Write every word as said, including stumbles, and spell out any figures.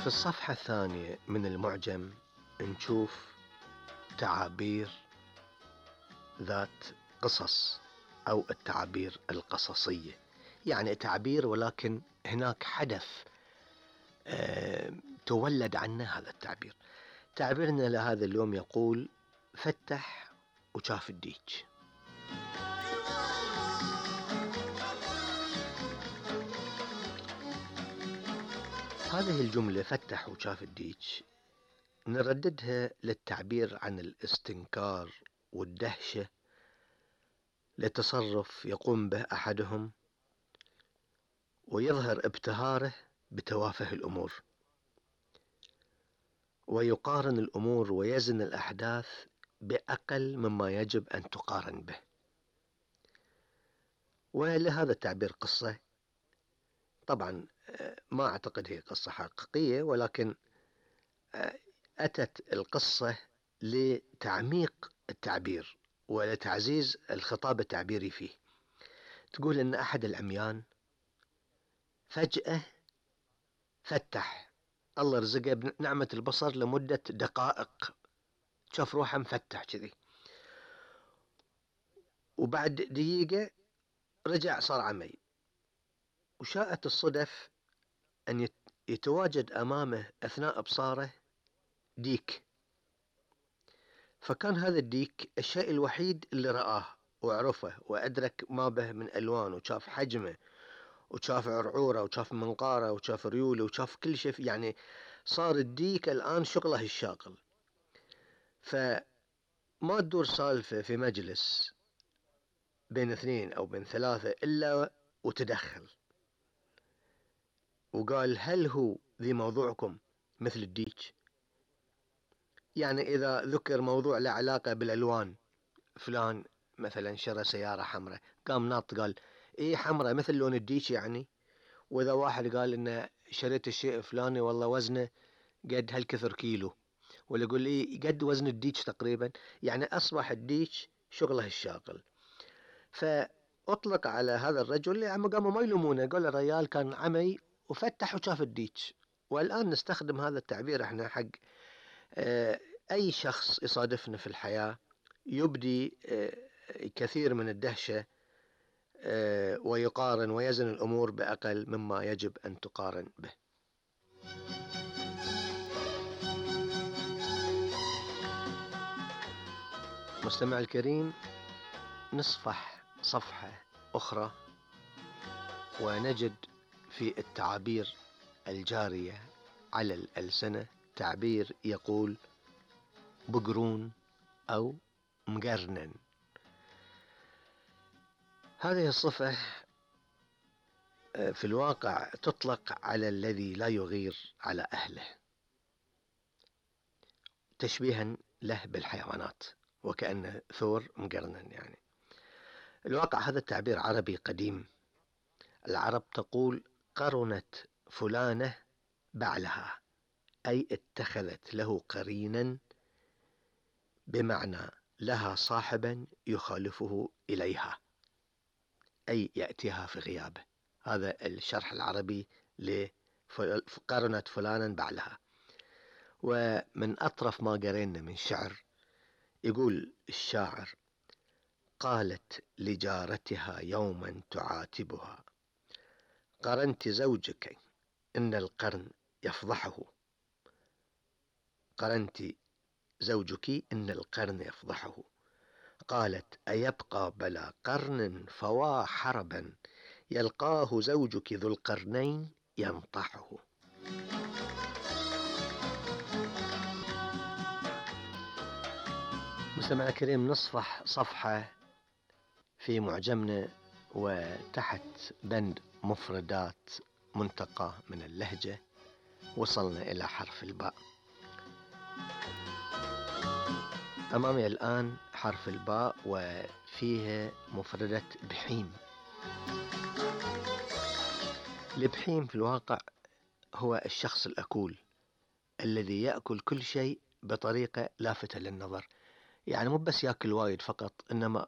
في الصفحة الثانية من المعجم نشوف تعابير ذات قصص أو التعابير القصصية، يعني تعبير ولكن هناك حدث أه تولد عنه هذا التعبير. تعبيرنا لهذا اليوم يقول: فتح وشاف الديك. هذه الجملة فتح وشاف الديك نرددها للتعبير عن الاستنكار والدهشة لتصرف يقوم به أحدهم ويظهر ابتهاره بتوافه الأمور، ويقارن الأمور ويزن الأحداث بأقل مما يجب أن تقارن به. ولهذا التعبير قصة، طبعا ما أعتقد هي قصة حقيقية، ولكن أتت القصة لتعميق التعبير ولتعزيز الخطاب التعبيري فيه. تقول إن أحد العميان فجأة فتح، الله رزقه بنعمة البصر لمدة دقائق، شاف روحه مفتح كذي، وبعد دقيقة رجع صار عمي. وشاءت الصدف أن يتواجد أمامه أثناء إبصاره ديك، فكان هذا الديك الشيء الوحيد اللي رآه وعرفه وأدرك ما به من ألوان، وشاف حجمه وشاف عرعوره وشاف منقاره وشاف ريوله وشاف كل شيء، يعني صار الديك الآن شغله الشاغل. فما تدور سالفة في مجلس بين اثنين أو بين ثلاثة إلا وتدخل وقال: هل هو ذي موضوعكم مثل الديك؟ يعني إذا ذكر موضوع له علاقة بالألوان، فلان مثلا شرى سيارة حمراء، قام ناط قال: إيه حمراء مثل لون الديك يعني. وإذا واحد قال إنه شريت الشيء فلاني والله وزنه قد هالكثر كيلو، ولا يقول لي قد وزن الديك تقريبا، يعني أصبح الديك شغله الشاغل. فأطلق على هذا الرجل، يعني قاموا ما يلومونه، قال الرجال كان عمي وفتح وشاف الديك. والآن نستخدم هذا التعبير احنا حق أي شخص يصادفنا في الحياة يبدي كثير من الدهشة ويقارن ويزن الأمور بأقل مما يجب أن تقارن به. مستمع الكريم، نصفح صفحة أخرى ونجد في التعابير الجارية على الألسنة تعبير يقول: بقرون أو مقرنن. هذه الصفة في الواقع تطلق على الذي لا يغير على أهله، تشبيها له بالحيوانات، وكأنه ثور مقرنن. يعني الواقع هذا التعبير عربي قديم. العرب تقول: قرنت فلانة بعلها، أي اتخذت له قرينا، بمعنى لها صاحبا يخالفه إليها، أي يأتيها في غيابه. هذا الشرح العربي لقرنت فلانا بعلها. ومن أطرف ما قرينا من شعر، يقول الشاعر: قالت لجارتها يوما تعاتبها: قرنت زوجك إن القرن يفضحه. قرنت زوجك إن القرن يفضحه. قالت: أيبقى بلا قرن فوا حربا، يلقاه زوجك ذو القرنين ينطحه. مستمع الكريم، نصفح صفحة في معجمنا وتحت بند مفردات منتقى من اللهجة وصلنا إلى حرف الباء. أمامي الآن حرف الباء وفيها مفردة بحيم. البحيم في الواقع هو الشخص الأكول الذي يأكل كل شيء بطريقة لافتة للنظر، يعني مو بس يأكل وايد فقط، إنما